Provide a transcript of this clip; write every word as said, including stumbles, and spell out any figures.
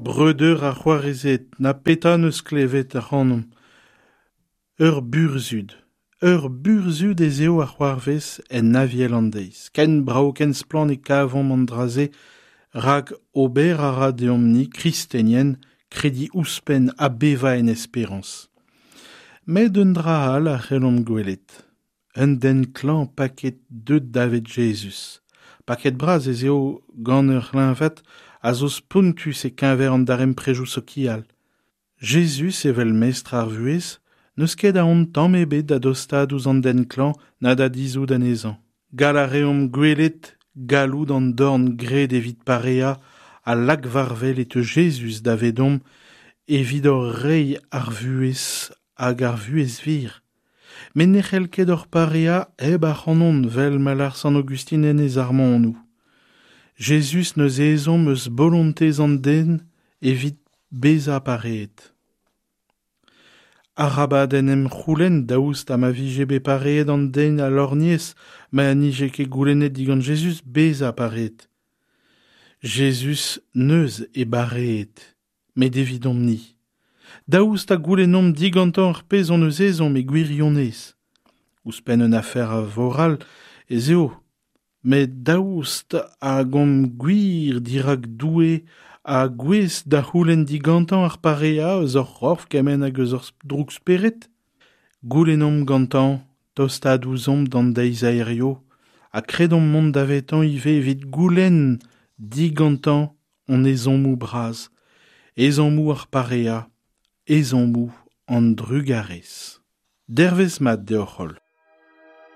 Breudeur ha c'hoarezed, na petra 'neus klevet ac'hanomp. Ur burzhud, ur burzhud ez eo a c'hoarvez en Aviel an deiz. Ken brav, ken splann e kavomp an dra-se, rak ober a ra deomp-ni, kristenien, krediñ ouzhpenn ha bevañ en esperañs. Met un dra all a c'hellomp gwelet. Un den klañv paket deut davet Jezuz. Paket bras ez eo gant ur c'hleñved a zo spontus e-keñver an darempredoù sokial. Jezuz evel mestr ar vuhez n'eus ket aon tamm ebet da dostaat ouzh an den klañv na da dizhout anezhañ. Gall a reomp gwelet galloud an dorn graet evit pareañ ha lak war-wel e teu Jezuz davedomp evit hor reiñ ar vuhez hag ar vuhez wir. Met ne c'hell ket hor pareañ hep ac'hanon 'vel ma lâr Sant Aogustin en e sarmonoù. Jezuz 'neus ezhomm eus bolontez an den evit bezañ pareet. Arabat en em c'houlenn daoust ha ma vije bet pareet an den a lorgnez ma 'nije ket goulennet digant Jezuz bezañ pareet. Jezuz 'neus e bareet, met evidomp-ni. Daoust ha goulennomp digantañ ar pezh hon eus ezhomm e gwirionez. Ouzhpenn un afer a voral ez eo, met daoust hag omp gwir dirak Doue ha gouest da c'houlenn digantañ ar pareañ eus hor c'horf kement hag eus hor droug-spered? Goulennomp gantañ tostaat ouzhomp d'an deiz a hirio ha kredomp mont davetañ ivez evit goulenn digantañ hon ezhommoù bras, ezhommoù ar pareañ, ezhommoù an drugarez. Dervezh mat deoc'h holl.